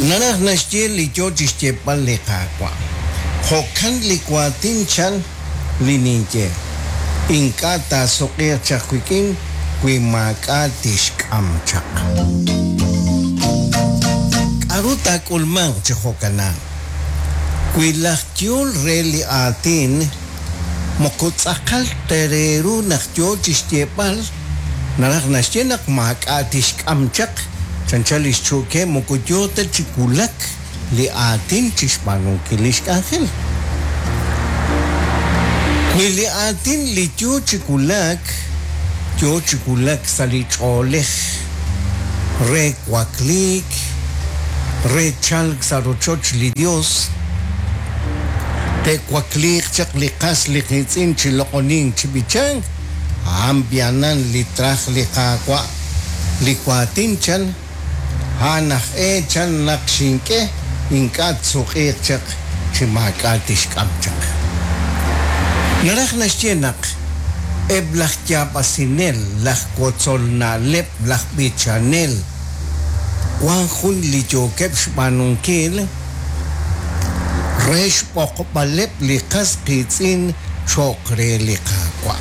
Naraj naxye li yo chi xyeeb'al li Qaawa', Jo'kan li waatin chan li ninye, ink'a' taasuq'iiq chaq wik'in wi maak'a' tixk'am chaq. K'aru taak'ulmanq chi jo'kanan? Wi laj yehol re li aatin moko tz'aqal ta re ru naq yo chi xyeeb'al, Naraj naxye naq maak'a' tixk'am chaq, chanchan li xchu'ke moko yoo ta chi wulak li aatin chi xb'aanunkil li xk'anjel. Wi li aatin li yoo chi wulak, yoo chi wulak sa' li ch'oolej re wakliik, re chalk sa' rochoch li Dios, te'wakliiq chaq li qas li qiitz'in chi loq'onink chi b'ichank, A'an b'i'anan li traj li Qaawa', li waatin chan, a'an aj e chan naq xink'e, ink'a' tsuq'iiq chaq chi maak'a' tixk'am chaq. Naraj naxye naq eb' laj yaab'asinel, laj wotzol na'leb', laj b'ichanel, wan jun li yookeb' xb'aanunkil, re xb'oqb'aleb' li qas qiitz'in cho'q re li Qaawa',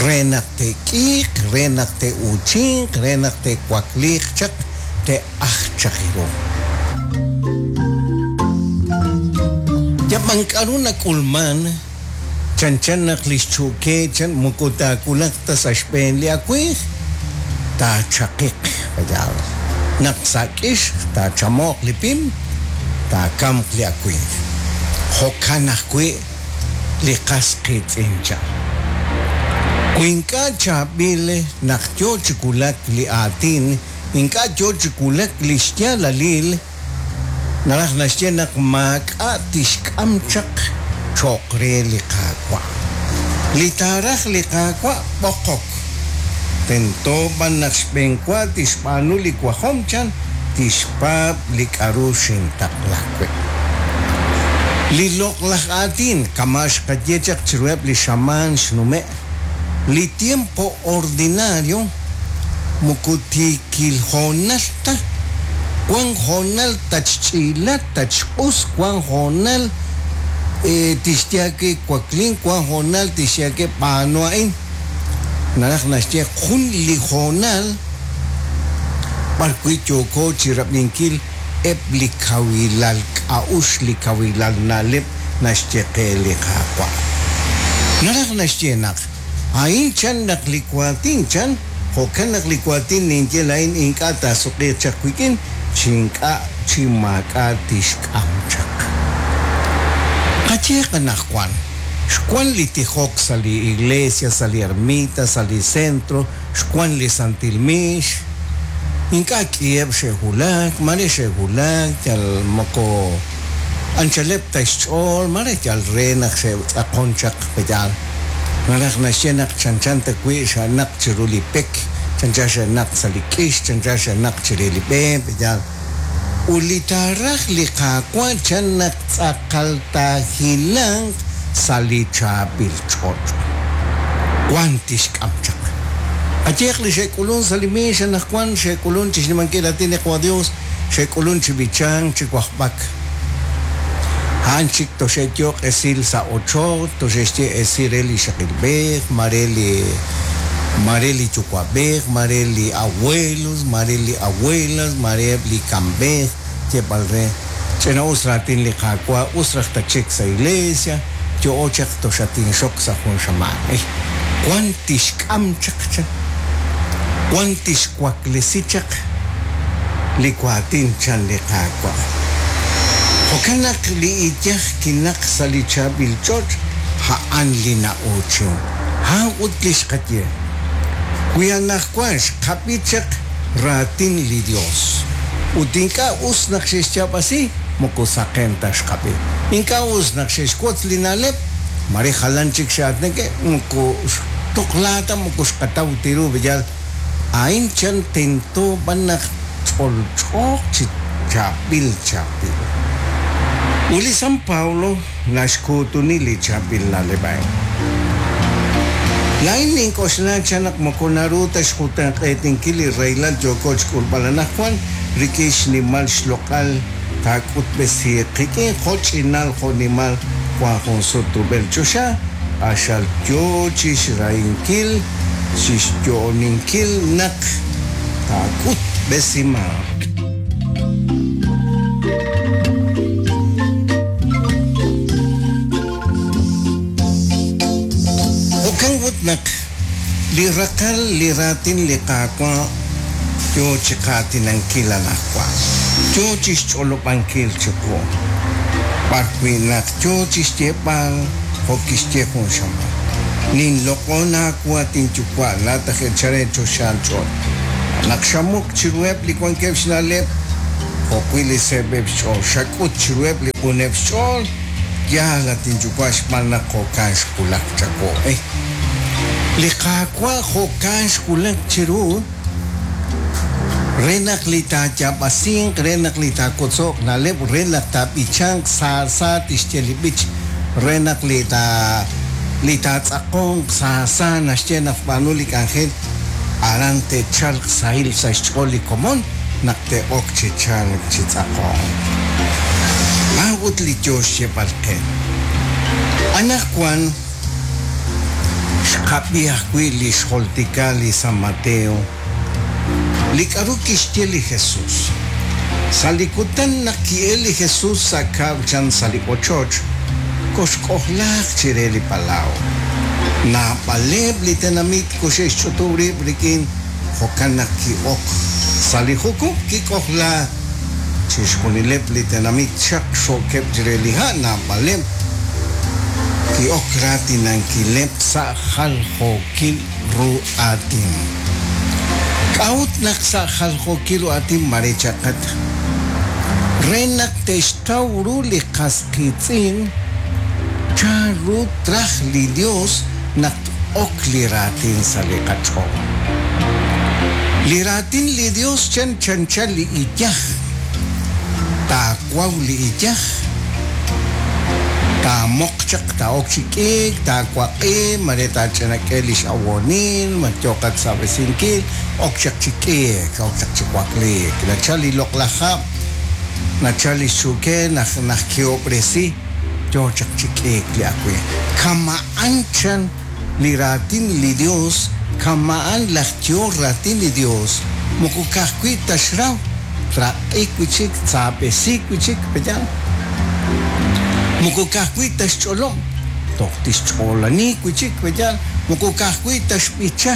re naq te'k'iiq, re naq te'uuchinq, re naq te'wakliiq chaq, te'ajq chaq ru. Yab'an k'aru nak'ulman, chanchan naq li xchu'ke chan moko taawulaq ta sa' xb'een li awimq, taachaqiq. Yaal, naq sa' k'ix taachamo'q li pim, taakamq li awimq. Jo'kan ajwi' li qas qiitz'in chan. Wi ink'a' chaab'il naq yoo chi wulak li aatin, ink'a' yoo chi wulak li xyaalalil, Naraj naxye naq maak'a' tixk'am chaq cho'q re li Qaawa'. Li taaraj li Qaawa' b'oqok. Tento b'an naq xb'eenwa tixb'aanu li wajom chan, tixpaab' li k'aru xintaqla wi'. Li loq'laj aatin kama' xqaye chaq chiruheb' li xamaan xnume', li tiempo ordinario moko tiikil hoonal ta, wan hoonal tatxch'iila, tatxq'us, wan hoonal tixye aawe waklin, wan hoonal tixye aawe b'aanu a'in. Naraj naxye jun li hoonal b'ar wi' yooko chi rab'inkil eb' li kawilal k'a'uxl, li kawilal na'leb' naxye qe li Qaawa'. Naraj naxye naq a'in chan naq li waatin chan, jo'kan naq li waatin ninye laa'in ink'a' taasuq'iiq chaq wik'in chi ink'a' chi maak'a' tixk'am chaq. Qayeeq anaqwan, xwan li tijok sa' li iglesia, sa' li ermita, sa' li centro, xwan li santil miix, ink'a' k'iheb' xe'wulak, maare xe'wulak yal moko anchaleb' ta xch'ool, maare yal re naq xe'tz'aqon chaq pe'yaal. Naraj naxye naq chanchan ta wi' xe'naq chiru li pek, chanchan xe'naq sa' li k'ix, chanchan xe'naq chire li b'e, pe'yaal. Ut li taaraj li Qaawa' chan naq tz'aqal taahilanq sa' li chaab'il ch'och'. Wan tixk'am chaq. Qayehaq li xe'k'ulunk sa' li miix anaqwan, xe'k'ulunk chi xnimankil raatin li Qwa Dios, xe'k'ulunk chi b'ichank, chi wajb'ak. A'an chik toxe'yooq esil sa' ochoch, toxe'xye esil re li ixaqilb'ej, mare li mare li yuwa'b'ej, mare li abuelos, mare li abuelas, mare eb' li kamb'ej, yeeb'al re, Ch'ina-us raatin li Qaawa', us raj tatxik sa' iglesia, yo'o chaq toxatinxok sa' jun xamaan. Ey, wan tixk'am chaq chan, wan tixwaklesi chaq li waatin chan li Qaawa'. Jo'kan naq li iyaj kinaq sa' li chaab'il ch'och' a'an li na'uuchin. A'an ut li xqaye, Wi anaqwan xqab'i chaq raatin li Dios ut ink'a' us naq xe'xyaab'asi, moko saqen ta xqab'i. Ink'a' us naq xe'xwotz li na'leb', mare jalan chik xe'aatinak, moko xtuqla ta, moko xqataw ta ru, yal a'in chan tento b'an naq ch'olch'ooq chi chaab'il chaab'il. Ut li San Pablo naxkuutuni li chaab'il na'leb' a'in. Laa'in nink'oxla chan naq moko naru ta xjutenq'eetinkil li rahilal yooko chk'ulb'al anaqwan. rik'in xnimal xloq'al taak'utb'esiiq qik'in jo' ch'inal jo' nimal wank jun sut rub'el choxa, q'axal yo chi xrahinkil, chi xyo'oninkil naq taak'utb'esimanq. Jo'kan ut naq li raqal li raatin li Qaawa' yo chi qaatinankil anaqwan, yo chi xch'olob'ankil chiqu, b'ar wi' naq yo chi xyeeb'al jo' kixye jun xamaan, Ninloq'on aawu, at inYuwa', laa'at aj eechal re choxaal ch'och', naq xamuq chiruheb' li wankeb' xna'leb' jo'wi' li seeb'eb' xch'ool, xak'ut chiruheb' li q'uneb' xch'ool, Yaal, at inYuwa', xb'aan naq jo'kan xwulak chawu. Li Qaawa' jo'kan xwulak chiru, re naq li taayaab'asinq, re naq li taawotzo'q na'leb', re naq taab'ichanq sa sa tixye li b'ich, re naq li taa li taatz'aqonq sa sa naxye naq tb'aanu li k'anjel, aran te'chalq sahil sa' xch'ool li komon naq te'ok chi chalk chi tz'aqonk. A'ut li yoo xyeeb'al qe. Anaqwan xqab'i ajwi' li xjultika li San Mateo, li k'aru kixye li Jesús. Sa' li kutan naq ki'elk li Jesús sa' kab'l chan sa' li ochoch, koxk'ojlaaq chire li palaw. Naab'aleb' li tenamit koxe'xch'utub' rib' rik'in, jo'kan naq ki'ok sa' li jukub' kik'ojlaak. Chixjunileb' li tenamit xaqxookeb' chire li ha' naab'aleb' ki'ok raatinankileb' sa' jaljookil ru aatin. K'a'ut naq sa' jaljookil ru aatin mare chaqat? Re naq te'xtaw ru li qas qiitz'in chanru traj li Yos naq t-ok li raatin sa' li qach'ool. Li raatin li Yos chan chanchan li iyaj. Taawaw li iyaj, taamoq chaq, taa'ok chi k'iik, taawaq'i, mare taach'inak'e li x'awoonil, ma yooqat xsaab'esinkil, ok chaq chi k'iik, ok chaq chi wakliik. Nachal li loq'laj hab', nachal li xchu'ke, naq najkehob'resi, yo chaq chi k'iik li awimq. Kama'an chan li raatin li Yos, kama'an laj yehol raatin li Yos, moko ka'ajwi' ta xraw, traq'i wi' chik, tsaab'esi wi' chik, pe'yaal? Moko ka'ajwi' ta xch'olob', toj tixch'oolani wi' chik, pe'yaal? Moko ka'ajwi' ta xb'icha,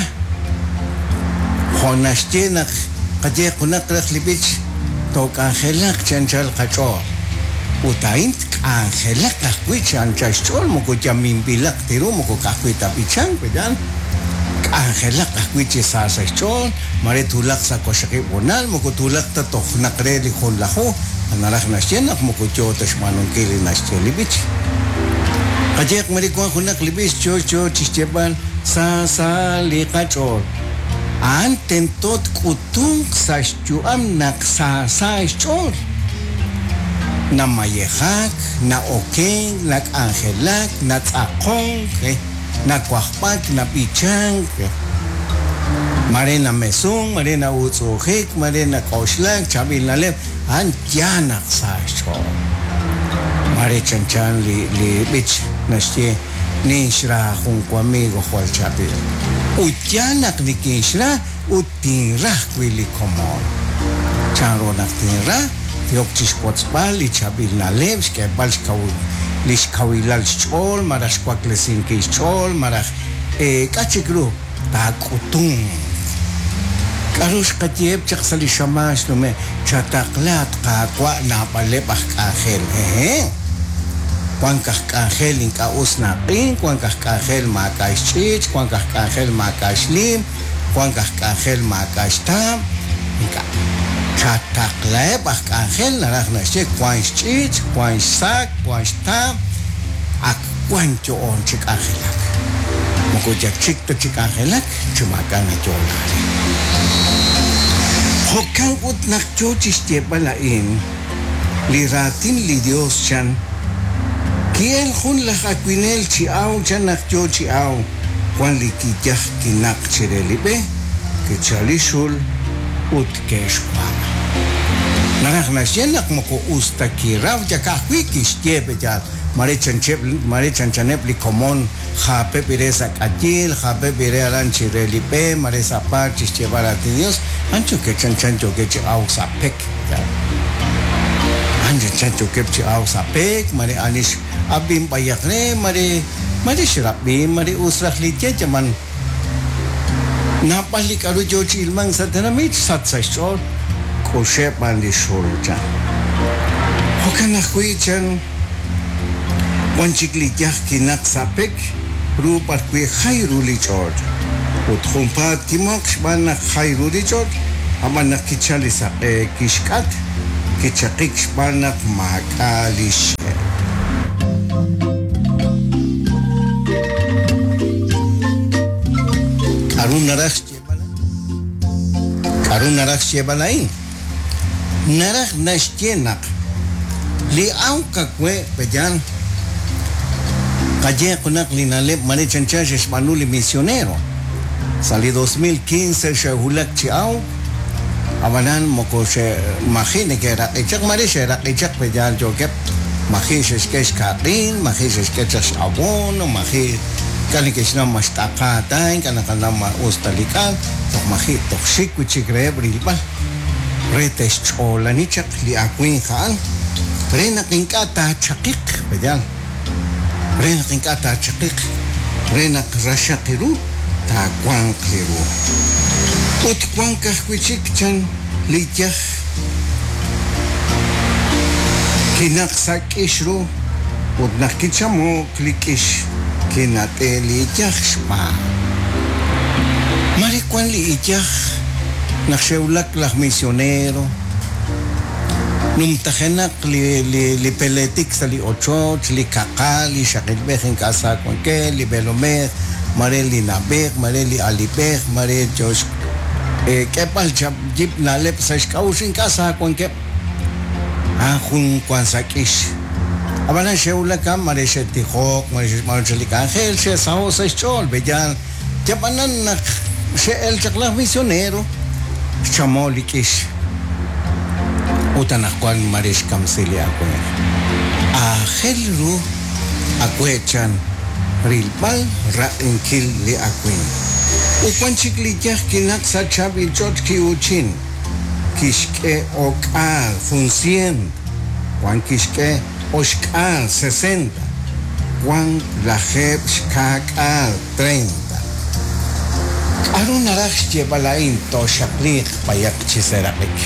jo' naxye naq qaye junaq raj li b'ich, Took'anjelaq chi anchal qach'ool. Ut a'in tk'anjelaq ajwi' chi anchal xch'ool, moko yaminb'ilaq ta ru, moko ka'ajwi' ta b'ichank, pe'yaal? K'anjelaq ajwi' chi sa sa' xch'ool, mare twulaq sa' waqxaqib' honal, moko twulaq ta toj naq re li junlaju, naraj naxye naq moko yoo ta xb'aanunkil li naxye li b'ich. Qayehaq mare wank junaq li b'ich yoo yoo chi xyeeb'al sa sa li qach'ool. A'an tento tk'utunq sa' xyu'am naq sa sa xch'ool. Namayejak, na'okenk, nak'anjelak, natz'aqonk, Nawajb'ak, nab'ichank, mare namesunk, mare na'utz'u'ujik, mare nak'oxlak, chaab'il na'leb', a'an yaal naq sa xch'ool. Mare chanchan li li b'ich naxye, Ninxra jun wamigo jwal chaab'il. Ut yaal naq nikinxra ut tinra ajwi' li komon. Chanru naq tinra? Yook chi xwotzb'al li chaab'il na'leb', xk'eeb'al li xkawilal xch'ool malaj xwaklesinkil xch'ool malaj k'a' chik ru taak'utunq. K'aru xqayeheb' chaq sa' li xamaan xnume'? Chataqla, at Qaawa', naab'aleb' aj k'anjel. Hehe'. Wank aj k'anjel ink'a' us na'q'ink, wank aj k'anjel maak'a' xch'iich', wank aj k'anjel maak'a' xliim, Wank aj k'anjel maak'a' xtaab', ink'a'. Chataqlaheb' aj k'anjel naraj naxye wank xch'iich', wank xsaak, wank xtaab', ak wank yo'oon chi k'anjelak. Moko yal chik ta chi k'anjelak chi maak'a' nayo'la re. Jo'kan ut naq yoo chixyeeb'al a'in, li raatin li Dios chan, Ki'el jun laj awinel chi aw chan naq yoo chi aw, wan li kiyaj kinaq chire li b'e, kichal li xul ut ke'xwa'. Naraj naxye naq moko us ta kiraw yal ka'ajwi' kixye pe yaal. Mare chancheb' mare chanchaneb' li komon jaapeb' ire sa' k'ayil, jaapeb' ire aran chi re li b'e, mare sa' paar chi xyeeb'al raatin li Dios, a'an yookeb' chanchan yookeb' chi awk sa' pek. Yaal. A'an chanchan yookeb' chi awk sa' pek, mare ani x'ab'in b'ayaq re, mare mare xrab'i, mare us raj li ye, yab'an Naab'al li k'a'ru yoo chi ilmank sa' tenamit xsach sa' xch'ool, k'uxeb' b'an li xul, chan. Jo'kan ajwi', chan, wan chik li yaj kinaq sa' pek ru b'arwi' jay ru li ch'och', ut junpaat kimoq xb'aan naq jay ru li ch'och', ab'an naq kichal li saq'e kixk'at, kichaqik xb'aan naq maak'a' li xxe'. K'aru naraj xyeeb'al a'in? K'aru naraj xyeeb'al a'in? Naraj naxye naq li awk awe' pe'yaal qaye junaq li na'leb' mare chanchan xe'xb'aanu li misionero. Sa' li 2015 xe'wulak chi awk, Ab'anan moko xe'maji' neke'raq'i chaq, maare xe'raq'i chaq pe yaal yookeb', maji' xe'xk'e xkaq'il, maji' xe'xk'e chaq x'abono, maji' ink'a' neke'xnaw ma xt'aqa ta, ink'a' naqanaw ma us ta li k'al, toj maji' toj xik wi' chik reheb' rilb'al re te'xch'oolani chaq li awimq a'an re naq ink'a' taachaqiq, pe yaal. Re naq ink'a' taachaqiq, re naq raxaq ru taawanq li ru. Ut wank ajwi' chik chan li yaj kinaq sa' k'ix ru, ut naq kichamo'k li k'ix kinat'e' li iyaj xb'aan. Mare wank li iyaj naq xe'wulak laj misionero. Numtajenaq li peleetik sa' li ochoch, li kaqal, li ixaqilb'ej ink'a' sa wankeb', li b'eelomej, mare li na'b'ej, mare li alib'ej, mare yo xk'eb'al yib' na'leb' sa' xk'a'uxl ink'a' sa wankeb'. A'an jun wank sa' k'ix. Ab'anan xe'wulak a'an mare xe'tijok, mare xe'xb'aanu chaq li k'anjel, xe'saho' sa' xch'ool, pe'yaal Yab'anan naq xe'el chaq laj misionero, xchamo li k'ix. Ut anaqwan mare xkamsi li awimq. Aajel ru awe' chan rilb'al raq'inkil li awimq. Ut wan chik li yaj kinaq sa' chaab'il ch'och' ki'uuchin, kixk'e o'k'aal, jun sient, wan kixk'e oxk'aal, sesenta, wan lajeeb' xkaak'aal, treinta. K'aru naraj xyeeb'al a'in tooxaqliiq b'ayaq chi seeraq'ik?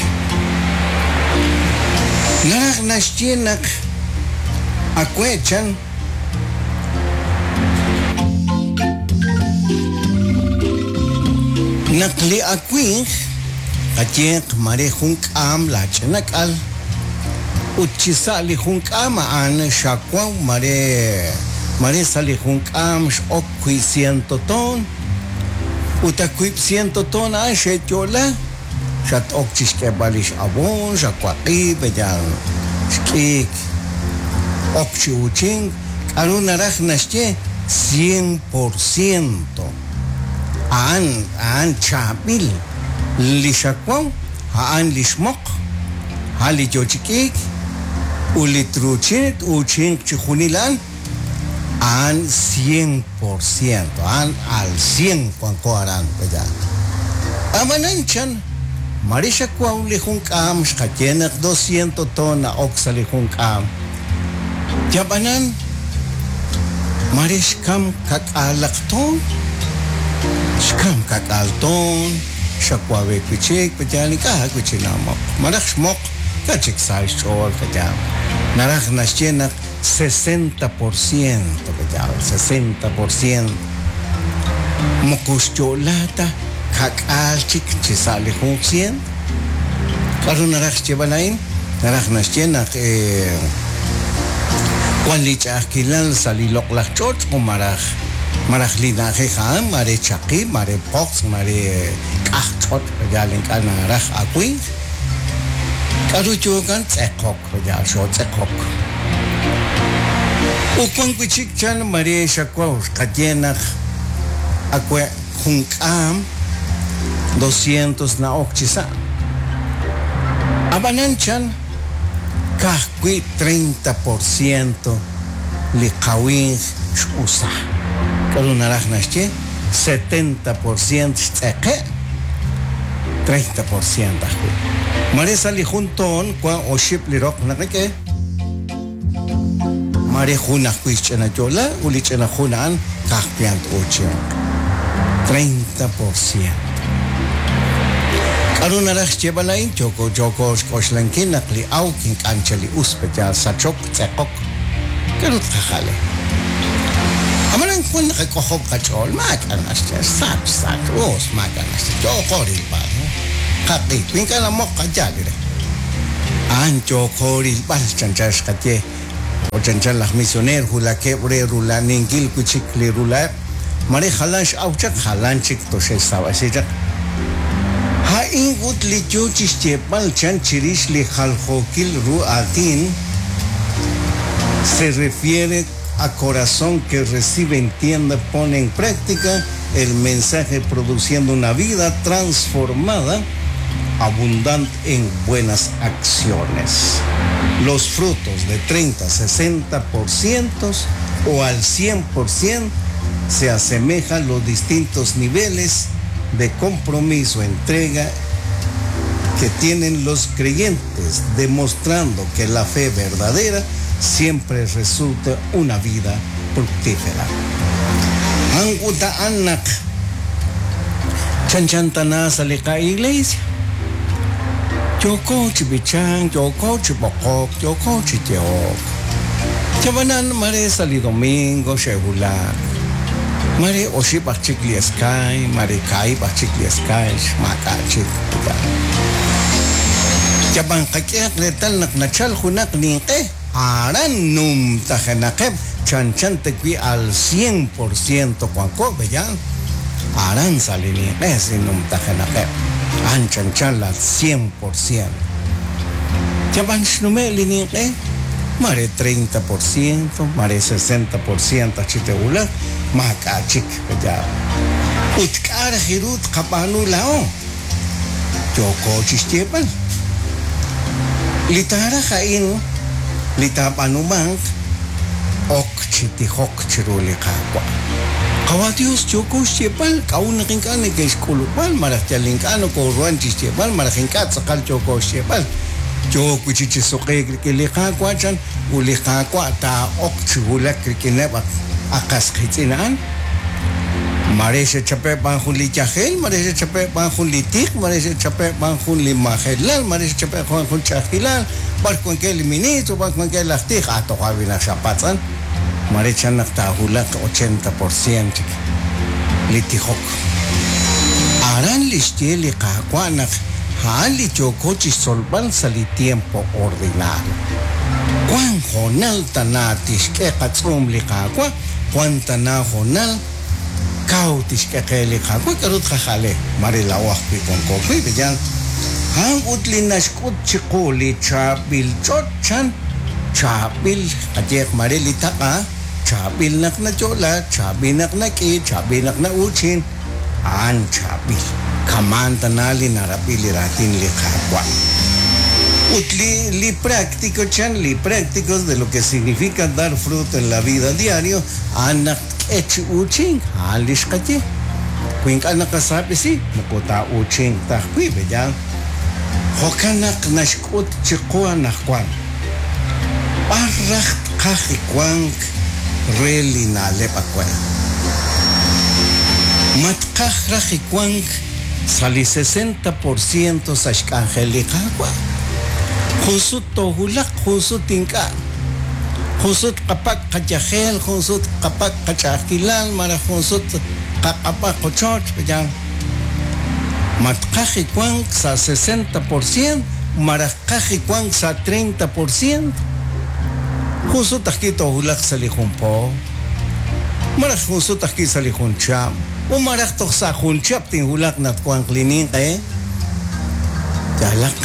Naraj naxye naq awe' chan. Naq li awinj qayeeq mare jun k'aam laach'ina k'al ut chi sa' li jun k'aam a'an xawaw mare mare sa' li jun k'aam x'ok wi' ciento toon ut a wiib' ciento toon a'an xe'yo'la xat-ok chi xk'eeb'al li x'aboon, xawaq'i, pe'yaal xk'iik ok chi uuchink, k'a'ru naraj naxye cien por ciento a'an a'an chaab'il li xawaw a'an li xmoq, a'an li yoo chi k'iik ut li truuchin t-uuchinq chi junil a'an, a'an cien por ciento, a'an al cien wanko aran pe'yaal. Ab'anan chan, mare xawaw li jun k'aam xqaye naq dosciento toon na'ok sa' li jun k'aam. Yab'anan, mare xkam kak'aalaq toon, xkam kak'aal toon, xawawe wi' chik, pe'yaal ink'a' wi' chik namoq. Malaj xmoq, ink'a' chik sa xch'ool, pe'yaal. Naraj naxye naq sesenta por ciento, pe'yaal, sesenta por ciento. Moko xyo'la ta kak'aal chik chi sa' li jun cient. K'a'ru naraj xyeeb'al a'in? Naraj naxye naq wan li ch'a'ajkilal sa' li loq'laj ch'och' malaj malaj li na'ajej a'an mare chaqi, mare poqs, mare k'aj ch'och' yal ink'a' naraj awinq. K'a'ru yookan tz'eqok, yal xootz'eqok. Ut wan wi' chik chan mare xawaw xqaye naq awe' jun k'aam, doscientos na'ok chi sa'. Ab'anan chan ka'ajwi' 30% li qawinj x'usa. K'aru naraj naxye? 70% xtz'eqe', 30% ajwi'. Mare sa' li jun toon wank oxib' li roq naqak'e. Mare jun ajwi' xch'ina yo'la ut li ch'ina jun a'an ka'ajwi' a'an t-uuchinq. 30%. K'aru naraj xyeeb'al a'in? Yooko yooko xk'oxlankil naq li awk ink'a' anchal li us, pe'yaal sachok, tz'eqok. K'aru tqajal? Ab'anan wan naqak'ojob' qach'ool, maak'a' naxye, sach sach, us, maak'a' naxye, yooko rilb'al. Qaq'i, wi ink'a' namoq qayaal re. A'an yooko rilb'al, chanchan xqaye, jo' chanchan laj misioneer wulakeb' re rula'aninkil wi' chik li rula'eb', mare jalan x'aw chaq, jalan chik toxe'xsab'asi chaq. A'in ut li yo chi xyeeb'al chan chirix li jaljookil ru aatin, se refiere a corazón que recibe, entiende, pone en práctica el mensaje produciendo una vida transformada, abundante en buenas acciones. Los frutos de 30, 60% o al 100% se asemejan los distintos niveles de compromiso, entrega que tienen los creyentes, demostrando que la fe verdadera siempre resulta una vida fructífera. A'an ut a'an naq chanchan tana sa' li qa-iglesia. Yooko chi b'ichank, yooko chi b'oqok, yooko chi yehok. Ab'anan mare sa' li domingo xe'wulak, mare oxib' aj chik li eskay, mare kaahib' aj chik li eskay, maak'a' chik. Yab'an qak'ehaq reetal naq nachal junaq ninq'e, aran numtajenaqeb' chanchan ta wi' al cien por ciento wanko, pe'yaal? Aran sa' li ninq'e si numtajenaqeb', a'an chanchan al cien por ciento. Yab'an xnume' li ninq'e, mare treinta por ciento, mare sesenta por ciento aj chik te'wulaq, maak'a' chik, pe'yaal? Ut k'a' raj ru tqab'aanu laa'o? Yooko chi xyeeb'al. Li taaraj a'in, li taab'aanumanq, ok chi tijok chiru li Qaawa'. Qawa' Dios, yooko xyeeb'al k'a'ut naq ink'a' neke'xk'ulub'al malaj yal ink'a' nokooruhan chi xyeeb'al malaj ink'a' tz'aqal yooko xyeeb'al. Yook wi' chik chi suq'iik rik'in li Qaawa' chan, ut li Qaawa' taa'ok chi wulak rik'ineb' a qas qiitz'in a'an. Mare xe'chape' b'an jun li yajel, mare xe'chape' b'an jun li tiq, mare xe'chape' b'an jun li majelal, mare xe'chape' b'an jun ch'a'ajkilal, b'ar wankeb' li ministro, b'ar wankeb' laj tij, ah toja' wi' naq xapatz'an, mare chan naq taahulaq ochenta por cien chik li tijok. Aran li xye li Qaawa' naq a'an li yooko chixtzolb'al sa' li tiempo ordinario. Wank hoonal tana tixk'e qatz'uum li Qaawa' Wank tana hoonal kaw tixk'e qe li Qaawa' k'aru tqajale, mare laa'o ajwi' wanko wi', pe'yaal? A'an ut li naxk'ut chiqu li chaab'il ch'och' chan, chaab'il, qayeeq mare li taq'a, chaab'il naq nayo'la, chaab'il naq nak'i, chaab'il naq na'uuchin, A'an chaab'il. Kama'an tana li narab'i li raatin li Qaawa'. Ut li li práctico chan, li prácticos de lo que significa dar fruto en la vida diario, a'an naq tk'e chi uuchink, a'an li xqaye. Wi ink'a' naqasaab'esi, moko taa'uuchinq ta ajwi', pe'yaal? Jo'kan naq naxk'ut chiqu anaqwan, b'ar raj tqaj li wank re li na'leb' awe'? Ma tqaj raj li wank sa' li sesenta por ciento sa' xk'anjel li Qaawa'? Jun sut toowulaq, jun sut ink'a'. Jun sut tqapak' qayajel, jun sut tqapak' qach'a'ajkilal malaj jun sut tqaq'ab'a qochoch, pe'yaal? Ma tqaj li wank sa' sesenta por cien malaj tqaj li wank sa' treinta por cien? Jun sut ajwi' toowulaq sa' li jun po, malaj jun sut ajwi' sa' li jun chihab', ut malaj toj sa' jun chihab' tinwulaq naq twanq li ninq'e. Yaalaq,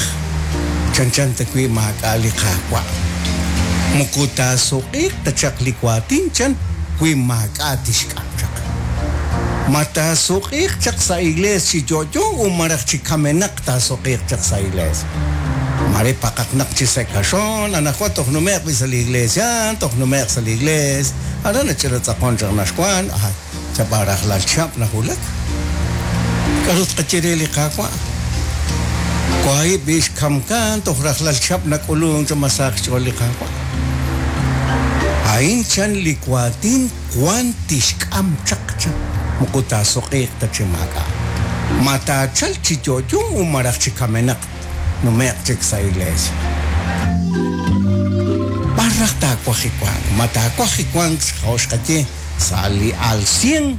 chanchan ta wi' maak'a' li Qaawa'. Moko taasuq'iiq ta chaq li waatin chan wi maak'a' tixk'am chaq. Ma taasuq'iiq chaq sa' iglees chi yo'yo u malaj chi kamenaq taasuq'iiq chaq sa' iglees? Mare paqaqnaq chi sa' kaxon, anaqwan toj nume'q b'i sa' li iglesia, toj nume'q sa' li iglees, aran nach'ina tz'aqon chaq naxwan, ay, chab'an rajlal chihab' nawulak. K'aru tqaye re li Qaawa'? Wahi' b'i xkamkan toj rajlal chihab' nak'ulunk chaq ma sahaq xch'ool li Qaawa'. A'in chan li waatin wan tixk'am chaq chan, moko taasuq'iiq ta chi maak'a'. Ma taachalq chi yo'yo u malaj chi kamenaq nume'q chik sa' iglesia. B'ar raj taawaj li wank? Ma taawaj li wank jo' xqaye sa' li al cien,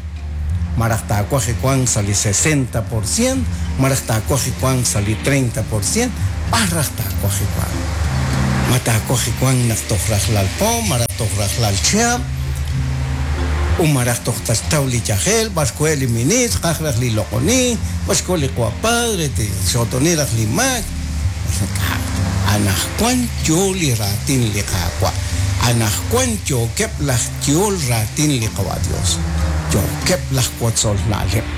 malaj taawaj li wank sa' li sesenta por cien, malaj taawaj li wank sa' li treinta por cien? B'ar raj taawaj li wank? Ma taawaj li wank naq toj rajlal po, malaj toj rajlal chihab', u malaj toj taxtaw li yajel, b'ar xkoheb' li ministr, qaj raj li loq'onink, b'ar xkoho li qawa' padre, tixxootoni raj li maak? Ink'a'. Anaqwan yo li raatin li Qaawa'. Anaqwan yookeb' laj yehol raatin li Qawa' Dios. Yookeb' laj wotzol na'leb'.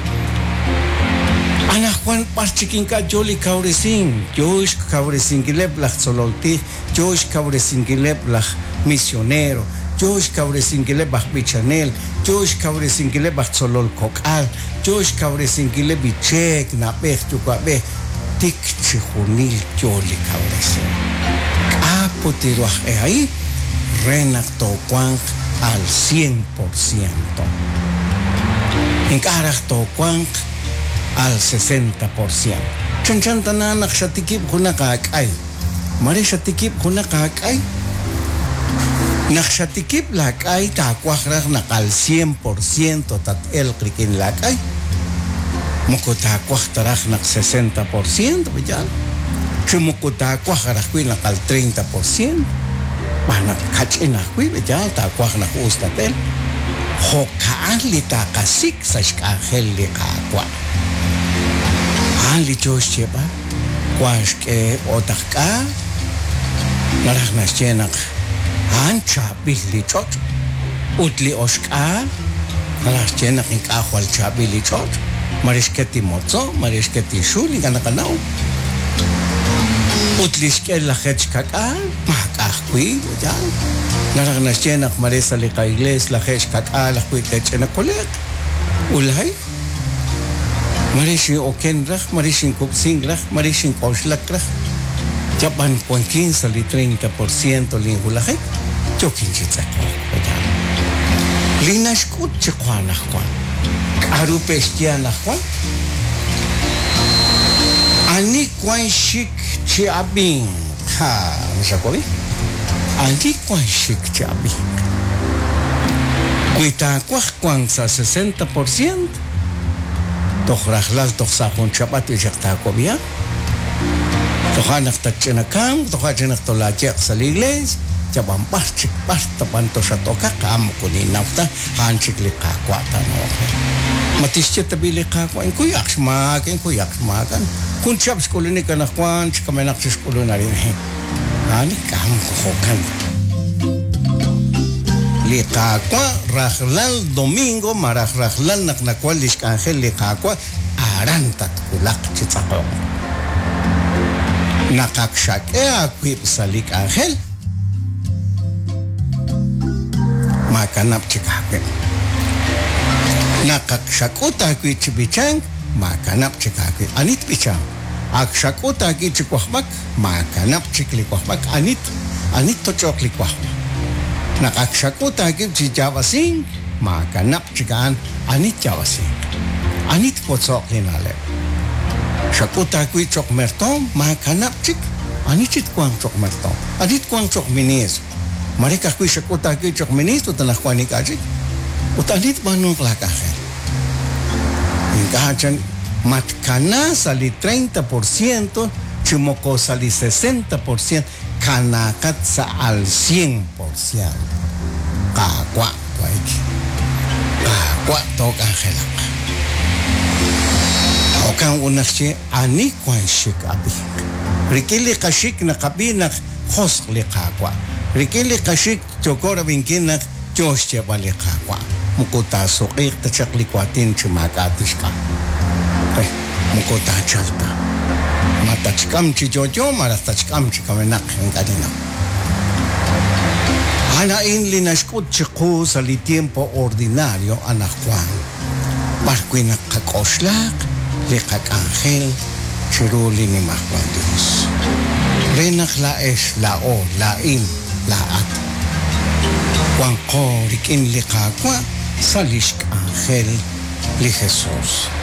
Anaqwan b'ar chik ink'a' yo li kawresink, yo xkawresinkileb' laj tzolol tij, yo xkawresinkileb' laj misionero, yo xkawresinkileb' aj b'ichanel, yo xkawresinkileb' aj tzolol kok'al, yo xkawresinkileb' li cheek, na'b'ej, yuwa'b'ej, tik chixjunil yo li kawresink. K'a' put ru aj e a'in re naq toowanq al cien por ciento? Ink'a' raj toowanq al sesenta por ciento. Chanchan tana naq xatikib' junaq aak'ay. Mare xatikib' junaq aak'ay. Naq xatikib' laak'ay taawaj raj naq al cien por ciento tat-elq rik'in laak'ay. Moko taawaj ta raj naq sesenta por ciento, yaal? Chi moko taawaj ajwi' naq al treinta por ciento. Xb'aan naq kach'in ajwi', yaal, taawaj naq us tat-elq. Jo'ka'an li taaqasik' sa' xk'anjel li Qaawa'. A'an li yoo xyeeb'al. Wank xk'e otaq k'a, naraj naxye naq a'an chaab'il li ch'och', ut li oxk'aal, naraj xye naq ink'a' jwal chaab'il li ch'och', mare xket li motzo', mare xket li xul, ink'a' naqanaw. Ut li xk'e lajeetq xka'k'aal, maak'a' ajwi', yaal. Naraj naxye naq mare sa' li qaiglees lajeetq xka'k'aal ajwi' te'ch'ina kole'q. Ulay. Mare xin'oken raj, mare xinkub'sink raj, mare xink'oxlak raj. Yab'an wankin sa' li treinta por ciento linwulajik, yookin chi tz'eqok, pe'yaal? Li naxk'ut chiqu anaqwan. K'aru pe'xye anaqwan? Ani wank xik chi ab'ink? Ha, xawab'i? Ani wank xik chi ab'ink? Wi taawaj wank sa' sesenta por ciento, Toj rajlal toj sa' jun chab'at ixaq taawab'iha. Toja' naq tatch'inakamq, toja' chik naq tolaaye'q sa' li iglees, yab'an b'ar chik b'ar ta b'an toxat-okaq, a'an moko ninnaw ta, a'an chik li Qaawa' taanawoq re. Ma tixye tab'i' li Qaawa', Inkuyaq xmaak, inkuyaq xmaak, jun chihab' xk'ulunik anaqwan, chi kamenaq chik xk'ulun arin. A'an ink'a' moko jo'kan ta. Li Qaawa' rajlal domingo malaj rajlal naq nawan lix k'anjel li Qaawa' aran tatwulaq chi tz'aqonk. Naq ak xak'e aawib' sa' li k'anjel, maakanab' chik aawib'. Naq ak xak'ut aawib' chi b'ichank, maakanab' chik aawib'. Ani tb'ichanq? Ak xak'ut aawib' chi wajb'ak, Maakanab' chik li wajb'ak, ani ani ttoch'oq li wajb'. Naq ak xak'ut aawib' chi yaab'asink, maakanab' chik a'an ani tyaab'asinq. Ani twotzo'q li na'leb'. Xak'ut aawib' cho'q mertoom, maakanab' chik ani chi twanq cho'q mertoom. Ani twanq cho'q ministro. Mare ka'ajwi' xak'ut aawib' cho'q ministro ut anaqwan ink'a' chik. Ut ani tb'aanunq laak'anjel. Ink'a' chan matkana sa' li treinta por ciento chi moko sa' li sesenta por ciento, kanaaqat sa' al cien por ciento. Qaawa' waik. Qaawa' took'anjelaq. Jo'kan ut naxye ani wank xxik ab'ink. Rik'in li qaxik naqab'i naq josq' li Qaawa'. Rik'in li qaxik Yooko rab'inkil naq yoo xyeeb'al li Qaawa', Moko taasuq'iiq ta chaq li waatin chi maak'a' tixk'am. Re, moko taachalq ta. Tatxk'am chi yo'yo malaj tatxk'am chi kamenaq, ink'a' ninnaw. A'an a'in li naxk'ut chiqu sa' li tiempo ordinario anaqwan, b'ar wi' naq qak'oxlaq li qak'anjel chiru li Nimajwal Dios. Re naq laa'ex, laa'o, laa'in, laa'at, wanqo rik'in li Qaawa' sa' lix k'anjel li Jesus.